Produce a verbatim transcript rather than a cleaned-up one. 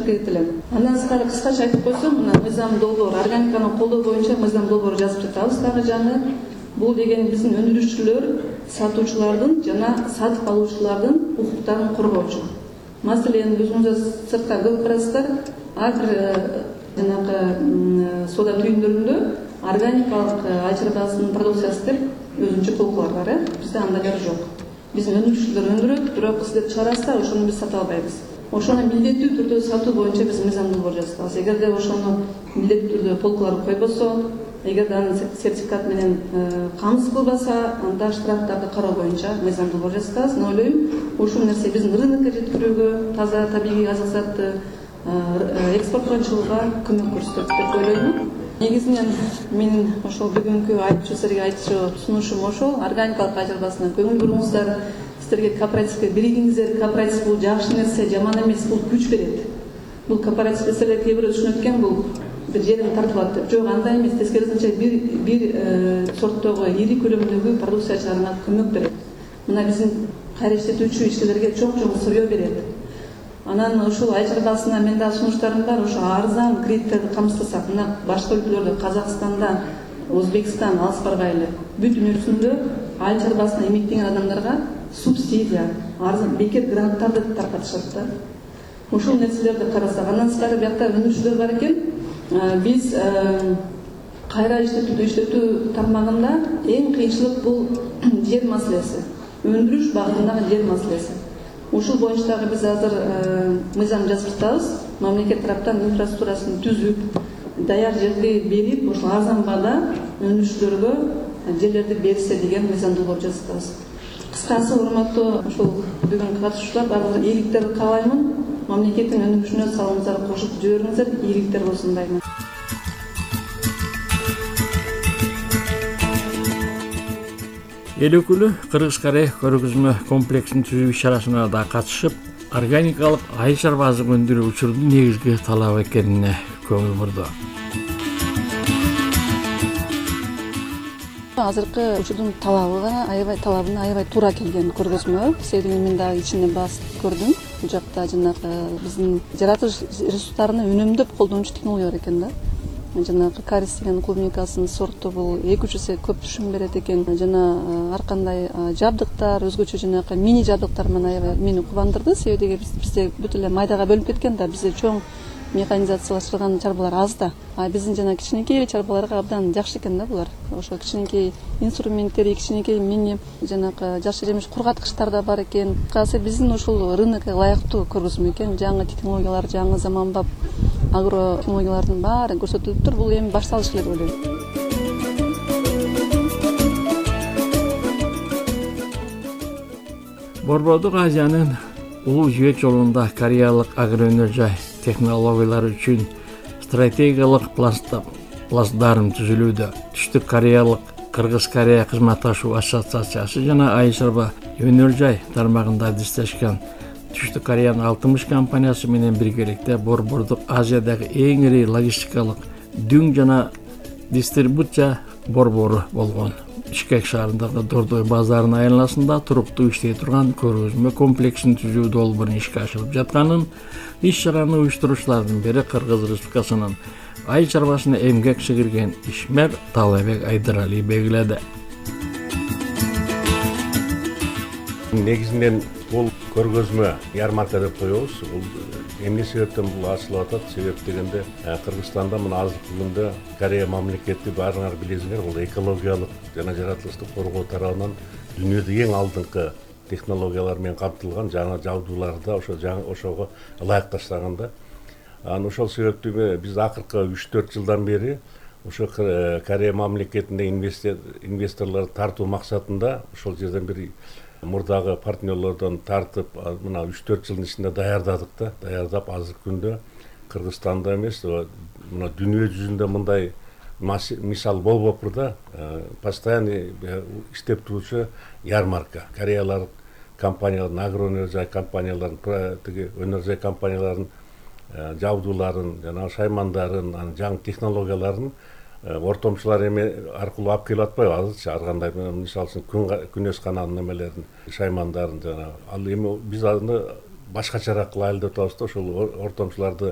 азыркы элем. Андан сырткары кыскача айтып койсом, мына мыйзам долбоор, органиканы колдоо боюнча мыйзам долбоор жазып жатабыз дагы жаңы. Бул деген биздин өндүрүүчүлөр, сатуучулардын жана сатып алуучулардын укуктарын коргоочу. Маселен, өзүңүз сыртка көрүп карасыздар, ар бир жанагы соода түйүндөрүндө органикалык ай чарбасынын продукциясы деп өзүнчө полкалар бар, э? Бизде андайлар жок. Биздин өндүрүүчүлөр өндүрөт, бирок сиздер чыгарасыздар, ошону биз сата албайбыз. Ошону милдеттүү түрдө сатуу боюнча биз мыйзам долбоор жазабыз. Эгерде ошону милдеттүү түрдө полкалар койбосо, эгерде аны сертификат менен камсыз кылбаса, анда штрафтарды кароо боюнча мыйзам долбоор жазабыз. Мен ойлойм, ушул нерсе биздин рынокко жеткирүүгө, таза табигый азык затты экспортко чыгууга көмөк көрсөтөт деп ойлойм. Негизинен менин ошол бүгүнкү айтчу силерге айтчу сунушум ошол. Органикалык ай чарбасына көңүл буруңуздар. Силерге кооперативге биригиңиздер. Кооператив бул жакшы нерсе, жаман эмес, бул күч берет. Бул кооперативде силер кээ бирөө түшүнөт экен, бул бир жерин тартылат деп. Жок, андай эмес. Тескерисинче бир бир сорттогу ири көлөмдөгү продукция чыгарууга көмөк берет. Мына биздин кайра иштетүүчү ишчилерге чоң-чоң сырьё берет. Анан ушул ай чарбасына мен да сунуштарым бар. Ошо арзан кредиттерди камсыздасак, мына башка өлкөлөрдө, Казакстанда, Өзбекстан, алыс баргайлы, бүт дүйнө жүзүндө ай чарбасына эмгектенген адамдарга субсидия, арзан бекер гранттарды таркатышат да. Ушул нерселерди карасак, андан сырткары биякта өндүрүүчүлөр бар экен. Биз кайра иштетүү иштетүү тармагында эң кыйынчылык бул жер маселеси. Өндүрүш багытындагы жер маселеси. Ушул боюнча дагы биз азыр мыйзам жазып жатабыз. Мамлекет тараптан инфраструктурасын түзүп, даяр жерди берип, ошол арзан баада өндүрүүчүлөргө жерлерди берсе деген мыйзам долбоор жазып жатабыз. Кыскасы, урматтуу ушул бүгүнкү катышуучулар, баардыгына ийгиликтерди каалаймын. Мамлекеттин өндүрүшүнө салымыңыздарды кошуп жибериңиздер, ийгиликтер болсун дайыма. Эл өкүлү Кыргыз-Карай көргөзмө комплексин түзүү иш-чарасына да катышып, органикалык ай чарбасын өндүрүү учурунун негизги талабы экенине көңүл бурду. Азыркы учурдун талабы аябай талабына аябай туура келген көргөзмө. Себеби мен дагы ичинде басып көрдүм. Бул жакта жанагы биздин жаратылыш ресурстарын үнөмдөп колдонуучу технологиялар экен да. Жанагы карис деген клубникасынын сорту бул эки үч эсе көп түшүм берет экен. Жана ар кандай жабдыктар, өзгөчө жанагы мини жабдыктар менен аябай мени кубандырды. Себеби бизде бүт эле майдага бөлүнүп кеткен да, бизде чоң механизациялаштырылган чарбалар аз да. А биздин жана кичинекей чарбаларга абдан жакшы экен да булар. Ошо кичинекей инструменттер, кичинекей мини жанагы жакшы жемиш кургаткычтар да бар экен. Касы биздин ушул рынокко ылайыктуу көргөзмө экен. Жаңы технологиялар, жаңы заманбап агро технологиялардын баары көрсөтүлүптүр. Бул эми башталыш эле деп ойлойм. Борбордук Азиянын улуу жибек жолунда кореялык агроөнөр жай технологиялар үчүн стратегиялык плацдарм түзүлүүдө. Түштүк Кореялык Кыргыз-Корея кызматташуу ассоциациясы жана ай чарба өнөр жай тармагында диздешкен Түштүк Кореянын алтымыш компаниясы менен биргеликте Борбордук Азиядагы эң ири логистикалык дүң жана дистрибуция борбору болгон. Бишкек шаарындагы Дордой базарынын айланасында туруктуу иштей турган көргөзмө комплексин түзүү долбоорун ишке ашырып жатканын иш-чараны уюштуруучулардын бири Кыргыз Республикасынын ай чарбасына эмгек сіңирген ишмер Талабек Айдарали белгиледи. Негизинен бул көргөзмө ярмарка деп коебуз. Бул эмне себептен бул ачылып атат? Себеп дегенде Кыргызстанда мына азыркы күндө Корея мамлекети баарыңар билесиңер, бул экологиялык жана жаратылышты коргоо тарабынан дүйнөдө эң алдыңкы технологиялар менен камтылган жаңы жабдууларды ошо жаңы ошого ылайыкташтаганда. Анан ошол себептүү биз акыркы үч төрт жылдан бери ошо Корея мамлекетинде инвесторлорду тартуу максатында ошол жерден бир мурдагы партнерлордон тартып, мына үч төрт жылдын ичинде даярдадык да, даярдап азыркы күндө Кыргызстанда эмес, мына дүйнө жүзүндө мындай мисал болбоптур да, постоянно иштеп турчу ярмарка. Кореялык компаниялардын, агроөнөр жай компаниялардын, тиги өнөр жай компаниялардын жабдууларын, жана шаймандарын, жаңы технологияларын ортомчулар эме аркылуу алып келип атпайбы азырчы, ар кандай мисалы үчүн күнөс каналынын эмелерин, шаймандарын жана ал эми биз аны башкачараак кылайлы деп атабыз да, ошол ортомчуларды